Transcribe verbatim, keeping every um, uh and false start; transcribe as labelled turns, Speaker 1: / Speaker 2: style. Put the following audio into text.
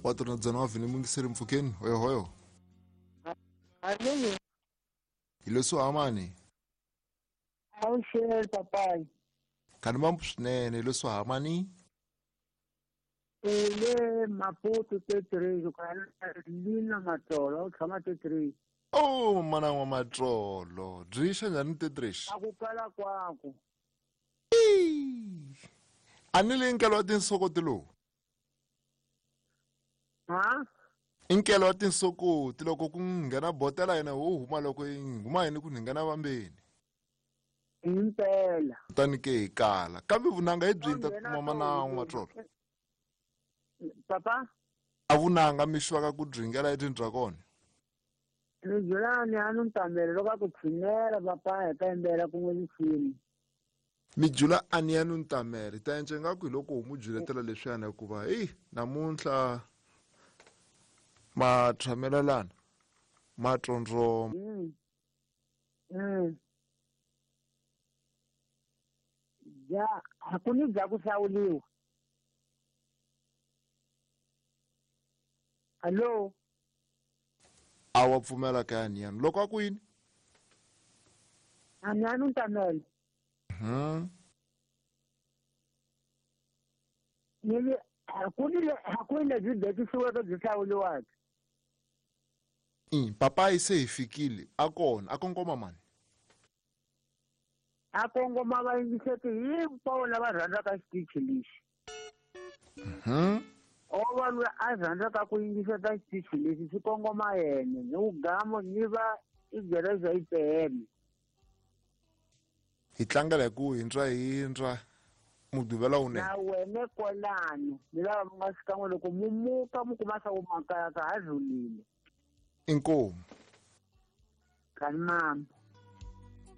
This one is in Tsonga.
Speaker 1: Quatro na dezenove ni mungiseri mpfhukeni hoyo hoyo.
Speaker 2: Alô?
Speaker 1: Hi amani.
Speaker 2: Awuxele papai.
Speaker 1: Kani mambo swinene hi leswi hamani.
Speaker 2: Le Maputo T três, o cara Lina Matsolo, o tshama T três.
Speaker 1: Oh, mana wa Matsolo, byi xa njhani T três?
Speaker 2: A ku kala kwaku.
Speaker 1: A ni le nkelo wa tinsokoti lowu.
Speaker 2: Ha?
Speaker 1: Inkelo wa tinsokoti loko ku nghena botela yena wo huma loko yi huma yini ku nghena vambeni.
Speaker 2: Impela.
Speaker 1: Kutani ke hi kala. Kambe vunanga hi byi ta kuma mana wa Matsolo.
Speaker 2: Papa?
Speaker 1: A vunanga mi xwaka ku dringela etindrakona.
Speaker 2: Ni byelani a ni ntamele loko a ku tshinela papa hi ta yimbela kun'we risimu.
Speaker 1: Mi jula a ni ya ni ntamele ta endla ingaku hi loko mu juletela leswiyana hikuva heyi namuntlha ma tshamelelana ma tsondzoma.
Speaker 2: Mm. Mm. Ja, a ku ni bya ku hlawuliwa. Allo?
Speaker 1: A wa pfumela ka ya niyani loko a ku yini?
Speaker 2: A ni ya ni ntamele.
Speaker 1: Mhm.
Speaker 2: Ni le a ku ni le a ku ni lebyi bekisiweke byi hlawuliwaka.
Speaker 1: I papai se hi fikile a kona a kongoma mani.
Speaker 2: A kongoma va yingiseti hinkwavo lava rhandzaka xitichi lexi.
Speaker 1: Mhm.
Speaker 2: O va loyi a rhandzaka ku yingiseta xitichi lexi xi kongoma yena ni ku gamo ni va i gereza yi pele.
Speaker 1: Hi tlangela hi ku hindra hindra muduvela wunene.
Speaker 2: Na wena kwalano ni lava mi nga xikan'we loko mu muka mu kuma swa ku makaya ka ha rhulile.
Speaker 1: Inkomu.
Speaker 2: Kani mama.